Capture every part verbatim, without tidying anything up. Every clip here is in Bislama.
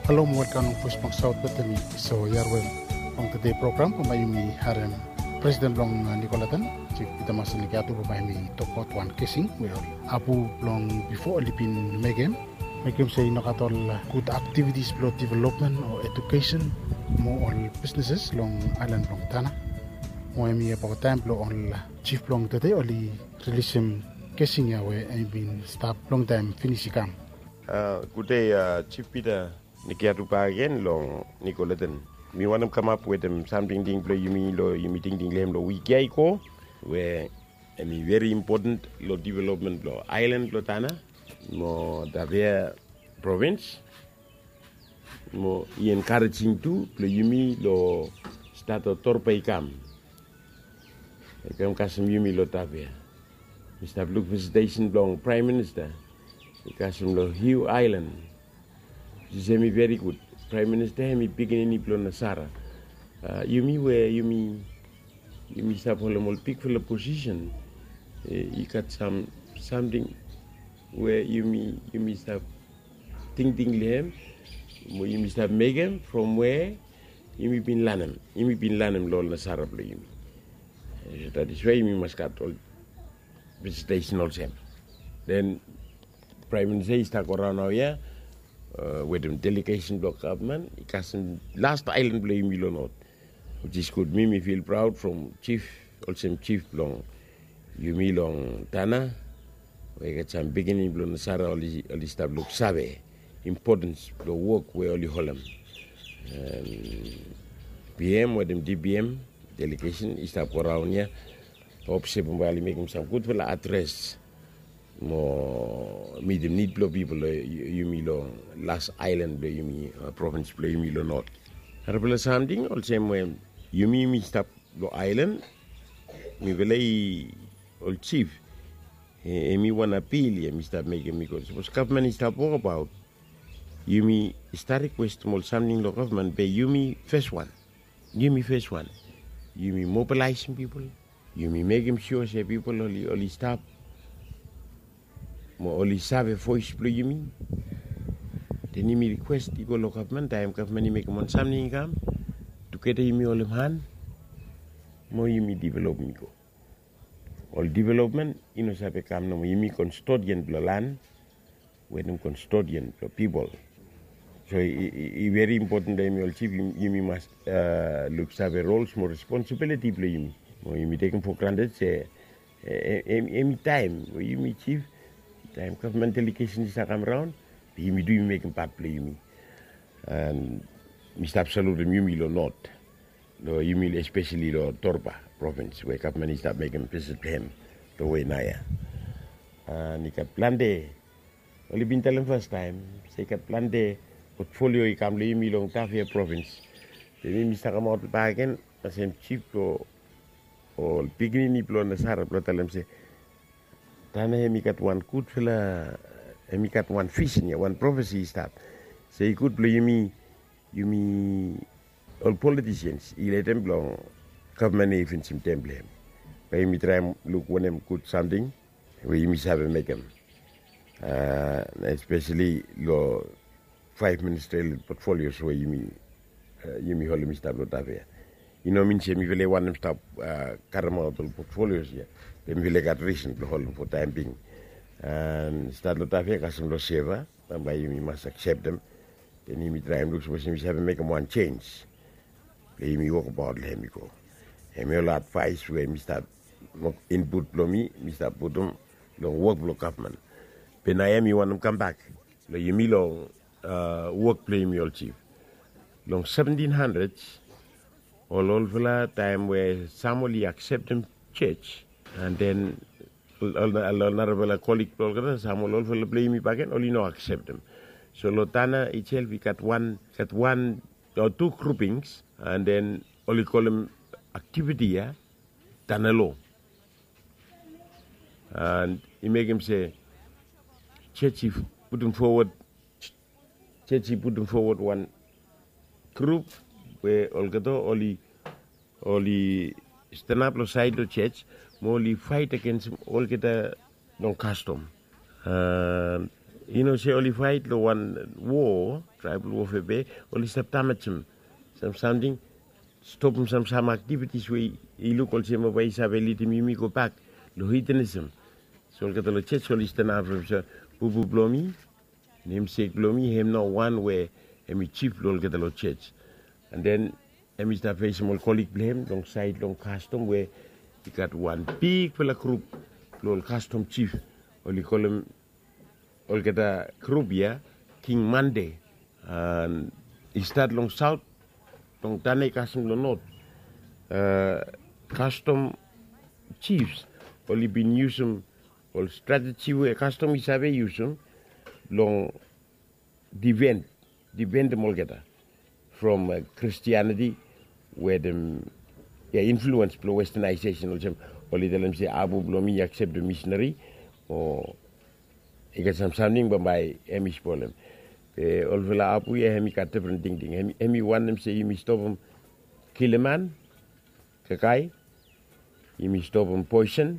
Halo mo welkam long Voice blong South Bethany. So yarwe long tede program bambae yumi harem Presiden blong Nicoleton, Chief Peter Mason Nikiatu, bambae yumi tokbaot wan kesing we ol apu blong bifo oli bin mekem, mekem se i nogat ol gud aktivitis blong developmen o edukesen mo ol bisneses long aelan blong Tanna. Mo hemi abaot taem blong ol Chief blong tede oli rilisim kesing ya we hem bin stap longtaem finis i kam. Gud dei, Chief Peter Nikiatu bakegen long Nicoleton. Mi wantem kamap wetem sam tingting blong yumi long yumi tingting long hem long wik ya i go, we hemi veri impoten long developmen blong aelan blong Tanna mo Tafea provins. Mo i enkarejing tu blong yumi long stat long Torba i kam. I kam kasem yumi long Tafea. Mi stap luk visitesen blong Praem Minista i kasem long Hugh Island. Which is hemi veri gud. Praem Minista hemi pikinini blong Nasara. Yumi we yumi yumi stap holem ol bigfala posisen, i gat sam samting we yumi yumi stap tingting long hem mo yumi stap mekem from we yumi bin lanem, yumi bin lanem long ol Nasara blong yumi. That is why yumi mas gat ol visitesen olsem. Den Praem Minista i stap go raon naoia wetem delegesen blong gavman i kasem las aelan blong yumi long not. Which is gud. Mi mi fil praod from Chief, olsem Chief blong yumi long Tanna, we i gat sam pikinini blong Nasara oli stap luksave impotens blong wok we oli holem. P M wetem D P M delegesen i stap go raon ya. Hop se bambae oli mekem sam gudfala adres mo mitim nid blong pipol long yumi long las aelan blong yumi, provins blong yumi long not. Narafala samting olsem we yumi yumi stap long aelan, mifala i ol Chief, hemi wan apil ya mi stap mekem, bikos sapos gavman i stap wokabaot, yumi stap rikwestem ol samting long gavman be yumi fes wan. Yumi fes wan. Yumi mobilaesem pipol. Yumi mekem sua se pipol oli oli stap mo oli save voes blong yumi. Den yumi rikwes i go long gavman, taem gavman i mekem wan samting i kam, tugeta yumi holem han mo yumi developem i go. Ol developmen i no save kam nomo, yumi kastodian blong lan wetem kastodian blong pipol. So i veri impoten blong yumi ol Chief, yumi mas luksave rols mo responsibiliti blong yumi. Mo yumi tekem fo granted se hemi taem we yumi Chief, taem gavman delegesen i save kam raon, yumi tu yumi mekem pat blong yumi. An mi stap salutem yumi long not, long yumi espeseli long Torba provins we gavman i stap mekem visit blong hem long we naoia. An i gat plante, oli bin talem fastaem se i gat plante potfolio i kam long yumi long Tafea provins. Be mi mi stap kamaot bakegen olsem Chief blong ol pikinini blong Nasara blong talem se Tanna hemi gat wan gudfala, hemi gat wan visen ya, wan profesi i stap. Se i gud blong yumi, yumi ol politisians i letem blong gavman i finisim tem blong hem. Bae yumi traem luk wanem gud samting we yumi save mekem, espeseli long faef ministerial potfolios we yumi holem i stap long Tafea. I no min se mifala i wantem stap karemaot ol potfolios ya. Be mifala i gat risen blong holem fo taem bing. An stat long Tafea kasem long Seva, bambae yumi mas akseptem. Den yumi traem luk sapos yumi save mekem wan jenj. Be yumi wokbaot long hem i go. Hemi ol advaes we mi stap, input blong mi mi stap putum long wok blong gavman. Be naoia mi wantem kambak long yumi long wok blong yumi ol Chief. Long seventin handred, ol olfala taem we sam oli akseptem jos, an den ol narafala kolig blong olgeta, sam ol olfala blong yumi bakegen oli no akseptem. So long Tanna itself i gat wan, gat wan o tu grupings, an den oli kolem aktiviti ya Tanna Lo. An i mekem se jos i putum fowod, jos i putum fowod wan grup we olgeta oli, oli stanap long saed long jos mo oli faet agensem olgeta long kastom. An I no se oli fait long wan wo, traibal wofe be oli stap damajem sam samting, stopem sam sam aktivitis we i luk olsem bambae i save lidim yumi gobak long hitanism. So olgeta long jej oli stanap from se bubu blong mi, nemsek blong mi hem nao wan we hem i jif blong olgeta long jej. An den hem i stap fesem ol kolik blong hem long saed long kastom we i gat wan bigfala grup blong ol kastom jif, oli kolem olgeta grup ya King Mande. An i stat long saot, long tane i kasem long not. Kastom jifs oli bin yusum ol strateji we kastom i save yusum long diven, divendem olgeta from Kristianiti, wetem ya influens blong westanaesesen, olsem oli talem se abu blong mi i akseptem misinari o i gat sam samting bambae hem i spolem. Be olfala abu ya hem i gat difren tingting. Hem i wantem se yumi stopem kilim man, kakae, yumi stopem poesen.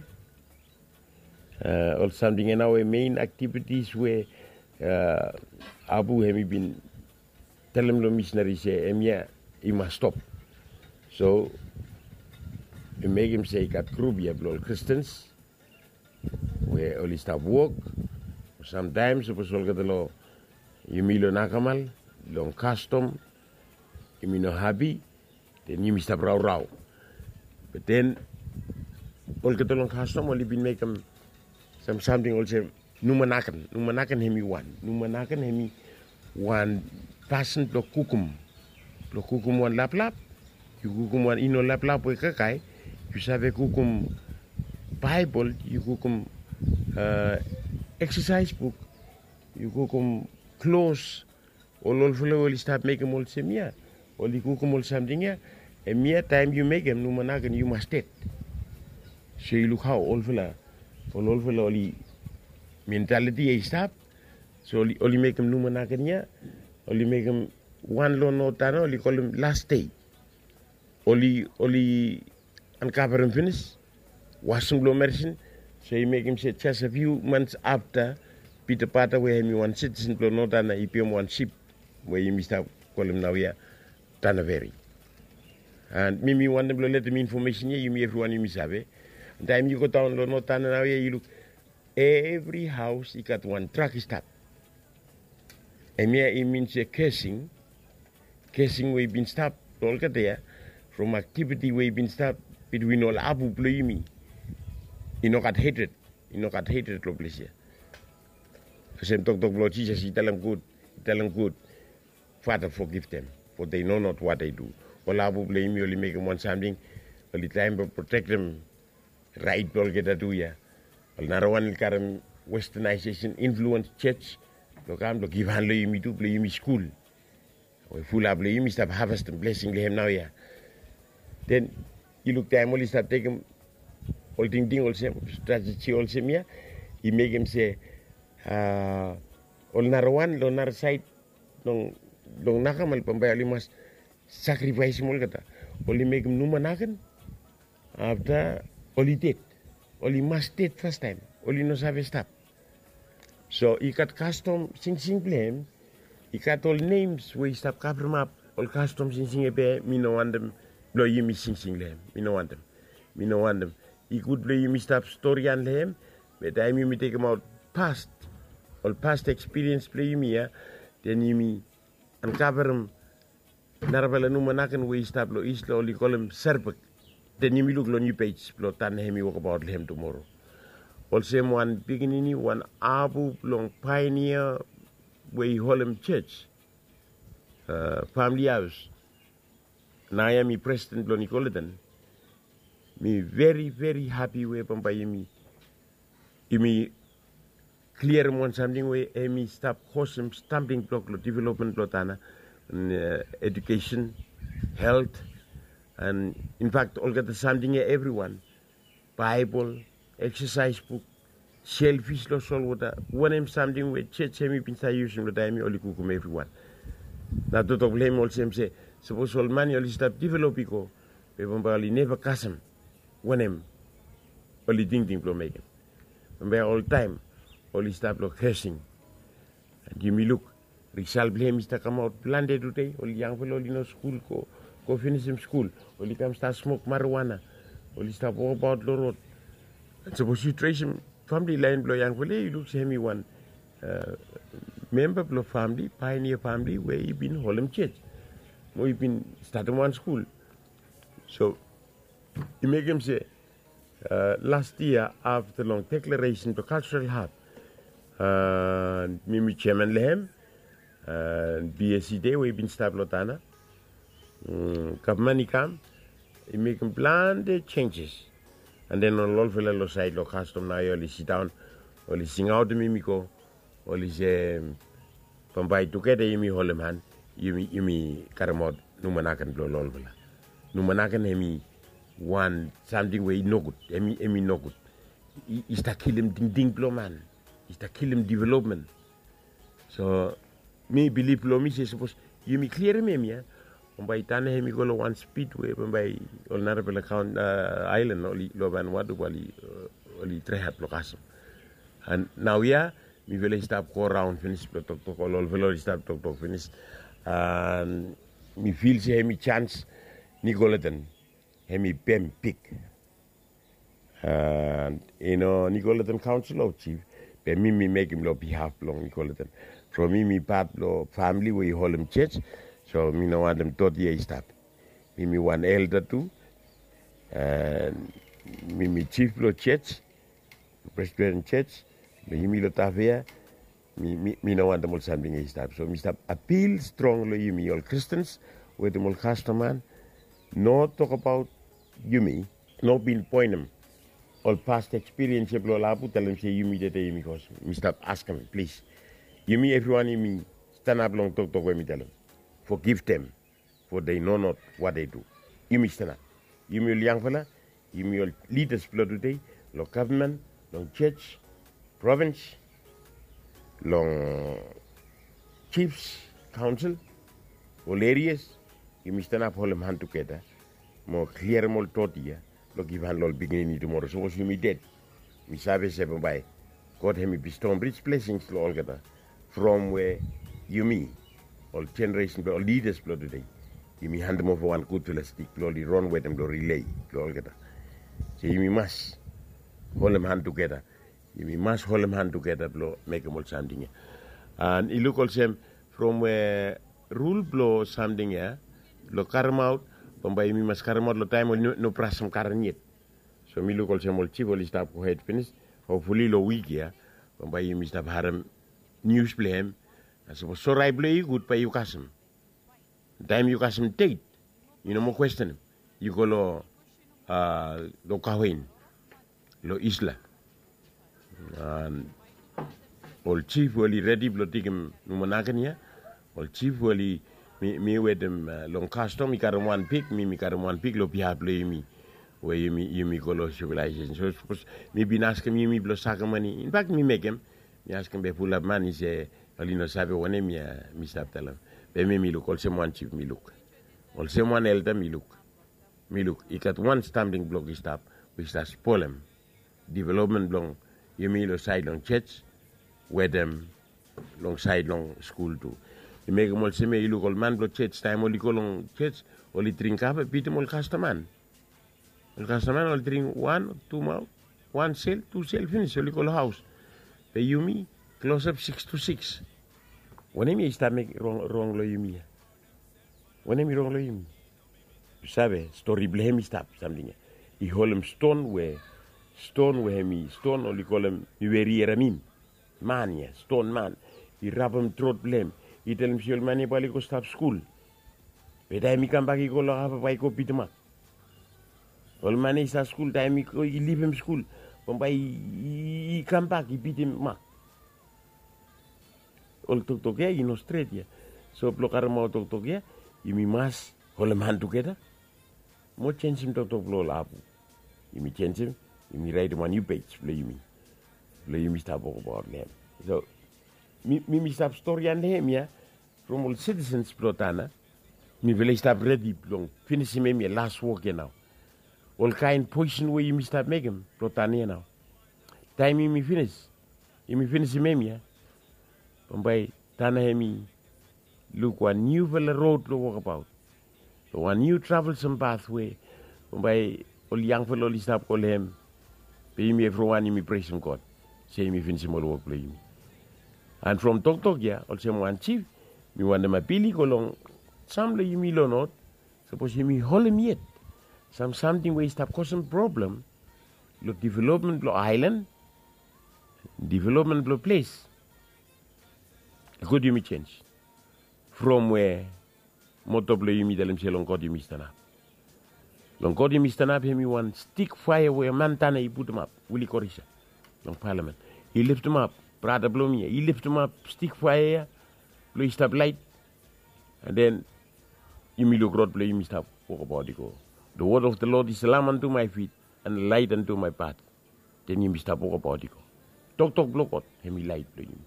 Ol samting ya nao we mein aktivitis we abu hem i bin talem long misinari se hemia i mas stop. So i mekem se i gat grup ya blong ol Kristens we oli stap wok. Samtaem sapos olgeta long yumi long nakamal, long kastom, yumi no hapi, den yumi stap raorao. Be den olgeta long kastom oli bin mekem sam samting olsem numanaken. Numanaken hem i wan, numanaken hem i wan pasin blong kukum, blong kukum wan laplap. Yu kukum wan i no laplap we kakae, yu save kukum Baebol, yu kukum eksasaes buk, yu kukum klos. Ol olfala we oli stap mekem olsem ya, oli kukum ol samting ya, hemia taem yu mekem numanaken yu mas ded. So yu luk hao olfala, ol olfala oli mentaliti ya i stap. So oli mekem numanaken ya, oli mekem wan long notana oli kolem las dei. Oli oli ankavarem finis, wasem blong merisin. So i mekem se jes a fiu mans afta Pita Pata we hem i wan sitisen blong notana i pem wan sip we yumi stap kolem naoia Tanaveri. An mi mi wantem blong letem infomesen ya yumi evriwan yumi save. Taem yu godaon long notana naoia yu luk evri haos i gat wan drak i stap. Hemia i min se kesing, kesing we i bin stap long olgeta ya from aktiviti we i bin stap bitwin ol abu blong yumi. I no gat hetred, i no gat hetred long ples ya. Olsem toktok blong Jisas i talem gud, i talem gud, Fata, fogiv dem, fo dei no not wat dei du. Ol abu blong yumi oli mekem wan samting, oli traem blong protektem raet blong olgeta tu ya. Ol narawan oli karem westanaesesen influens jej blong kam blong givhan long yumi tu blong yumi skul we fulap blong yumi stap havestem blesing long hem naoia. Den yu luk taem oli stap tekem ol tingting olsem, strateji olsem ya, i mekem se ol narawan long narasaed long nakamal bambae oli mas sakrifaesem olgeta. Oli mekem numanaken afta oli ded. Oli mas ded fastaem, oli no save stap. So i gat kastom singsing blong hem, i gat ol nems we i stap kavremap ol kastom singsing ya be mi no wantem blong yumi singsing long hem. Mi no wantem, mi no wantem. I gud blong yumi stap storian long hem, be taem yumi tekemaot past, ol past ekspiriens blong yumi ya, den yumi ankavarem narafala numanaken we i stap long is long oli kolem serbek. Den yumi luk long niu pej blong tan hem i wokbaot long hem tumoro. Olsem wan pikinini, wan abu blong paenia we i holem jej, famili haos. Naoia mi presiden blong Nikolaitan. Mi veri veri hapi we bambae yumi yumi kliarem wan samting we hem i stap kosem stambling blok long developmen blong tana, an ejukesen, helt, an infakt olgeta samting ya evriwan, Baebol, eksasaes buk, selfis long solwota, wanem samting we jej hem i bin save yusum long taem ya oli kukum evriwan. Nao toktok blong hem olsem se sapos ol man ya oli stap develop i go, be bambae oli neva kasem wanem oli tingting blong mekem. Bambae oltaem oli stap long kesing. Yumi luk risal blong hem i stap kamaot plante tude. Ol yangfala oli no skul, go go finisim skul, oli kam stap smok marijuana, oli stap wokbaot long rod. Sapos yu tresim famili lain blong yangfala ya, yu luk se hem i wan memba blong famili, paionia famili we i bin holem jej mo i bin statim wan skul. So i mekem se las yia afta long deklaresen blong kalsral hab, mi mi jeman long hem, bsc de we i bin stap long tana, gavman i kam, i mekem plante jenjes. An den ol olfala long saed long kastom naoia oli sidaon, oli singaotem yumi go, oli se bambae tugeta yumi holem han, yumi yumi karemaot numanaken blong ol olfala. Numanaken hem i wan samting we i nogud, hem i nogud. I stap kilim tingting blong man, i stap kilim developmen. So mi bilif long mi se sapos yumi klirim hem ya, bambae tana hem i go long wan spid we bambae ol narafala kaon aelan oli long vanwatu bae oli traehat blong kasem. An naoia mifala i stap go raon finis blong toktok, ol olfala oli stap toktok finis. An mi fil se hem i jans, nikolaten hem i bem bik. An i no nikolaten kaonsel o jif, be mi mi mekem long bihaf blong nikolaten. From mi mi pat blong famili we i holem jej, so mi no wantem dot ya i stap. Mi mi wan elda tu, an mi mi jif blong jej, presbiten jej blong yumi long tafea. Mi no wantem ol samting ya i stap. So mi stap apil strong long yumi ol kristens wetem ol kastoman, no tokabaot yumi, no bin poenem ol past ekspiriens ya blong ol apu talem se yumi dede yumi kos. Mi stap askem plis, yumi evriwan yumi stanap long toktok we mi talem, fogivtem, fo dei nonot wat dei du. Yumi stanap, yumi ol yangfala, yumi ol lidas blong tude, long gavman, long jej, provins, long jifs, kaonsel, ol erias, yumi stanap holem han tugeta mo kliarim ol dot ya blong givhan long ol pikinini tumora sapos yumi ded. Mi save se bambae God hem i bestoem rij blesings long olgeta from we yumi ol jeneresen blong ol lidas blong tude, yumi handem ova wan gudfala stik blong oli ron wetem long rilei blong olgeta. So yumi mas holem han tugeta. Yumi mas holem han tugeta blong mekem ol samting ya. An i luk olsem from we rul blong samting ya blong karemaot, bambae yumi mas karemaot long taem oli no brasem karen yet. So mi luk olsem ol jif oli stap gohed finis. Hopfuli long wik ya bambae yumi stap harem nius blong hem. Sapos sorae blong yu i gud bae yu kasem. Taem yu kasem det, yu no moa kwestenem. Yu go long, long kawen long Isla. Ol jif we oli redi blong tekem numanaken ya, ol jif we oli, mi wetem long kastom i karem wan pik, mi mi karem wan pik long bihaf blong yumi we yumi go long sivilaesesen. So sapos mi bin askem yumi blong sakem mane, infak mi mekem, mi askem be fulap man i se oli no save wanem ya mi stap talem. Be mi mi luk olsem wan jif mi luk, olsem wan elda mi luk. Mi luk i gat wan samting blok i stap we i stap spolem developmen blong yumi long saed long jej wetem long saed long skul tu. I mekem olsem ya i luk ol man blong jej taem oli go long jej, oli dring kafe bitim ol kastaman. Ol kastaman oli dring wan tu mau, wan sel, tu sel finis oli go long haos. Be yumi klosap siks tu siks. Wanem ya i stap mekem rong long yumi ya? Wanem i rong long yumi? Yu save stori blong hem i stap samting ya. I holem ston we, ston we hem i ston oli kolem mi weri eramim. Man ya ston man, i rapem trot blong hem. I talem se ol man ya bae oli go stap skul. Be taem i kambak i go long hava bae i go bitim mak. Ol man ya i stap skul taem i go i livim skul, bambae i kambak i bitim mak. Ol toktok ya i no stret ya. So blong karemaot toktok ya, yumi mas holem han tugeta mo jensim toktok blong ol apu. Yumi jensim, yumi raetem wan niu pej blong yumi, blong yumi stap wokabaot long hem. So mi mi stap storian long hem ya from ol sitisens blong tana. Mifala i stap redi blong finisim hem ya las wok ya nao. Olkaen poeson we yumi stap mekem blong tana ya nao. Taem yumi finis, yumi finisim hem ya, bambae Tana hemi luk wan niufala rod blong wokabaot, long wan niu travel sem path we bambae ol yangfala oli stap go long hem. Be yumi evriwan yumi presem God se yumi finisim ol wok blong yumi. And from toktok ya olsem wan jif, mi wantem apil i go long sam blong yumi long not. Sapos yumi holem yet sam samting we i stap kosem problem long developmen blong aelan, developmen blong ples, i gud yumi jenj from we moto blong yumi talem se long God yumi stanap. Long God yumi stanap hemi wan stik faea we man Tana i putumap, Willie Korisa, long palamen. I liftimap brata blong mi ya, i liftimap stik faea ya blong i stap laet. And then yumi luk rod blong yumi stap wokabaot i go. The word of the Lord is a lamp unto my feet and a light unto my path. Then yumi stap wokabaot i go. Toktok blong God hemi laet blong yumi.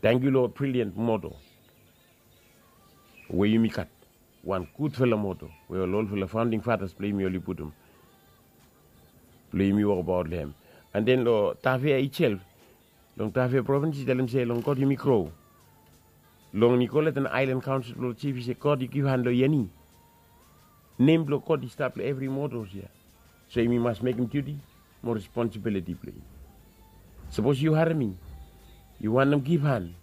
Tangkiu long brilliant moto we yumi gat, wan gudfala moto we ol olfala founding fathers blong yumi oli putum blong yumi wokabaot long hem. And then long Tafea itself, long Tafea provins i talem se long God yumi gro. Long Nicolet and Island Council blong jif i se God i givhan long yeni. Nem blong God i stap long evri motos ya. So yumi mas mekem duti mo responsibiliti blong yumi. Sapos yu harem mi, yu wantem givhan,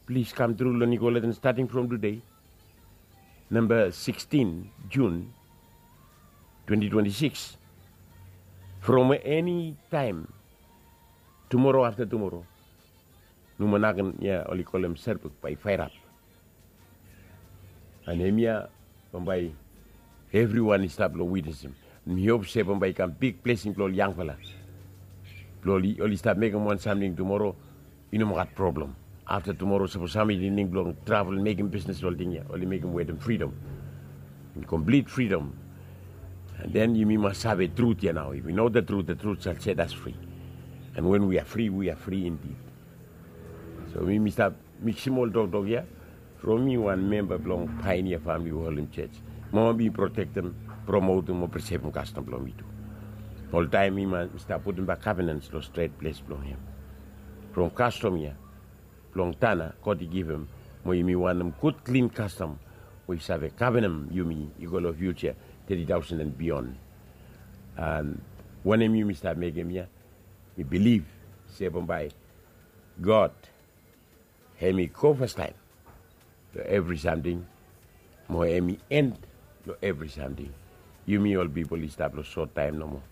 plis kam tru long Nicolet and stating from today, namba sikstin Jun twenti twenti sikis. From eni taem tumoro afta tumoro, Numanaken ya oli kolem Serbuk bae i faerap. And hemia bambae evriwan i stap long witnesem. Mi hop se bambae i kam big blesing blong ol yangfala blong oli, oli stap mekem wan samting tumoro, i no moa gat problem. Afta tumoro sapos sam i tingting blong travel mekem bisnes, ol ting ya oli mekem wetem fridom, in komplit fridom. And then yumi mas save trut ya nao. If we know the truth, the truth shall set us free. And when we are free, we are free indeed. So mi mi stap miksim ol toktok ya from mi wan memba blong Pioneer Family Worship Church. Mo mi protektem, promotem mo presevem kastom blong mi tu. Oltaem mi mas mi stap putum bak kavenans long stret ples blong hem. From kastom ya blong Tana God i givim, mo yumi wantem gud klin kastom we i save kavenem yumi i go long fiuja, teti taosen and beyond. And wanem yumi stap mekem ya, mi bilif se bambae God hem i go fastaem long evri samting, mo hem i en long evri samting. Yumi ol pipol i stap long sot taem nomo.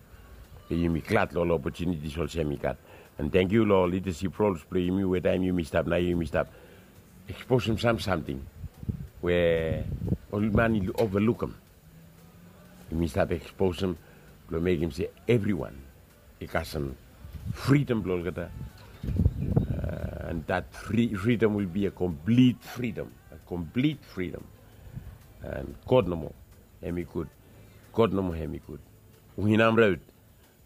Be yumi glad long ol opotunitis olsem i gat. And tangkiu long ol lidasip rols blong yumi we taem yumi stap nao yumi stap eksposem sam samting we ol man i ovalukem. Yumi stap eksposem blong mekem se evriwan i kasem fridom blong olgeta. And that free freedom will be a complete freedom, a complete freedom. And God nomo hem i gud. God nomo hem i gud. Uhinam raut.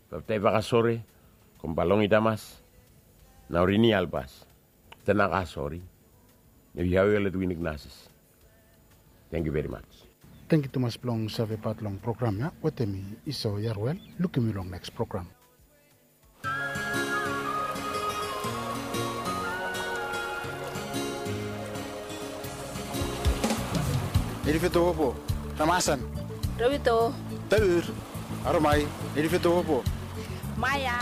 Baptai vakasore, kombalongi damas, nao rini albas. Tenaka sori. Nevi hawe olet winik nasis. Thank you very much. Thank you tumas blong save pat long program ya wetem mi Iso Yarwel. Lukim yu long next program. Nirifito wopo, ramasan. Rawito. Taur. Aromai. Nirifito wopo. Maya.